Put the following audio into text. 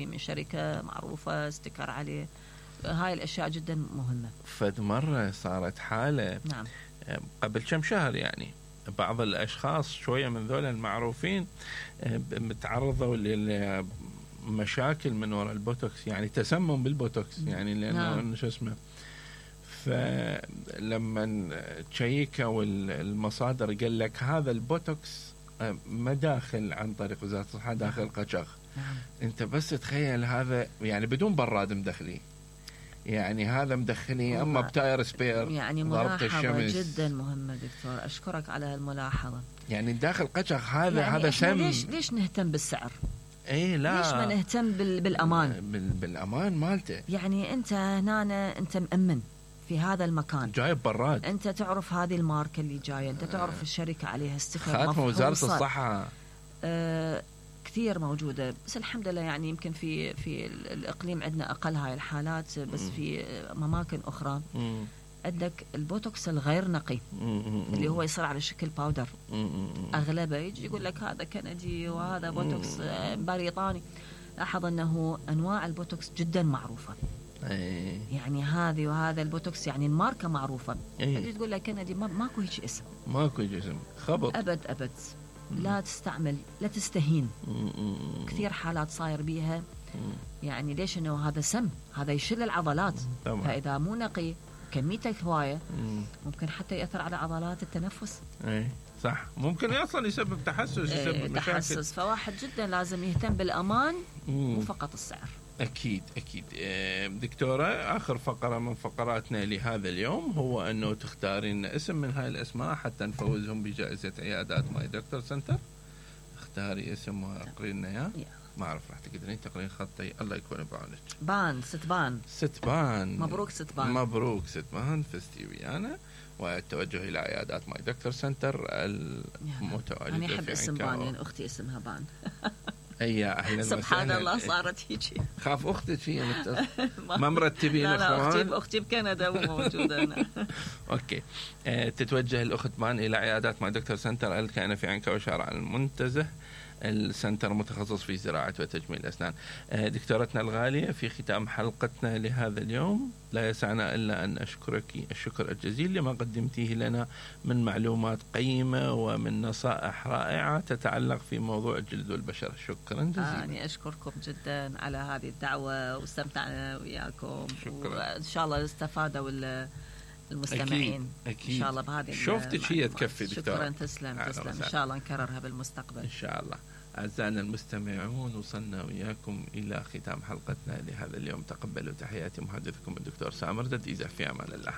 من شركة معروفة استكر عليه. هاي الأشياء جدا مهمة. فد مرة صارت حالة نعم. قبل كم شهر يعني بعض الأشخاص شوية من ذول المعروفين متعرضوا لمشاكل من وراء البوتوكس، يعني تسمم بالبوتوكس، يعني لأنه شو اسمه. فلما تشيكوا المصادر قال لك هذا البوتوكس ما داخل عن طريق وزارة الصحة، داخل قشغ. انت بس تخيل هذا يعني بدون براد مدخلي، يعني هذا مدخلي اما بتاير سبير. يعني ملاحظة جدا مهمة دكتور، اشكرك على هالملاحظة. يعني داخل قشغ هذا يعني هذا سم. ليش نهتم بالسعر؟ اي لا، ليش ما نهتم بالامان؟ بالامان مالته. يعني انت هنا انت مأمن في هذا المكان، جايب براد، انت تعرف هذه الماركة اللي جاية، انت تعرف الشركة عليها استكر خاتمة وزارة الصحة. كثير موجودة، بس الحمد لله يعني يمكن في الإقليم عندنا أقل هاي الحالات، بس في أماكن أخرى عندك البوتوكس الغير نقي اللي هو يصير على شكل باودر. أغلبه يجي يقول لك هذا كندي وهذا بوتوكس بريطاني. لاحظ أنه أنواع البوتوكس جدا معروفة. يعني هذه وهذا البوتوكس يعني الماركة معروفة. تجي تقول لك كندي ماكو هيك اسم، ماكو هيك اسم، خبط. أبد لا تستعمل، لا تستهين. كثير حالات صاير بيها. يعني ليش؟ انه هذا سم، هذا يشل العضلات. فاذا مو نقي كميته هوايه ممكن حتى ياثر على عضلات التنفس. اي صح، ممكن اصلا يسبب تحسس، يسبب مشاكل. فواحد جدا لازم يهتم بالامان وفقط السعر. أكيد. دكتورة، آخر فقرة من فقراتنا لهذا اليوم هو أنه تختارين اسم من هاي الأسماء حتى نفوزهم بجائزة عيادات ماي دكتور سنتر. اختاري اسم وأقرينا إياه. ما أعرف راح تقدرين تقرين خطي. الله يكون بعونك. ستبان. مبروك ستبان، فزتي ويانا. والتوجه إلى عيادات ماي دكتور سنتر المتواجدة. أنا أحب اسم بان لأن أختي اسمها بان. أهلا سبحان الله صارت هيجي. خاف أختك هي ما مرتبين. لا أختي بكندا وموجودة هنا. أوكي. تتوجه الأخت مان إلى عيادات ماي دكتور سنتر الكائنة في عنكا وشارع المنتزه. السنتر متخصص في زراعة وتجميل الأسنان. دكتورتنا الغالية، في ختام حلقتنا لهذا اليوم لا يسعنا إلا أن أشكرك الشكر الجزيل لما قدمتيه لنا من معلومات قيمة ومن نصائح رائعة تتعلق في موضوع الجلد والبشرة. شكرا جزيلا. أنا أشكركم جدا على هذه الدعوة واستمتعنا وياكم. شكرا. وإن شاء الله استفادوا المستمعين. أكيد. إن شاء الله بهذه شفتك هي تكفي دكتور. شكرا. تسلم. إن شاء الله نكررها بالمستقبل إن شاء الله. أعزائنا المستمعون، وصلنا وياكم إلى ختام حلقتنا لهذا اليوم. تقبلوا تحياتي محدثكم الدكتور سامر دديزة. في أمان الله.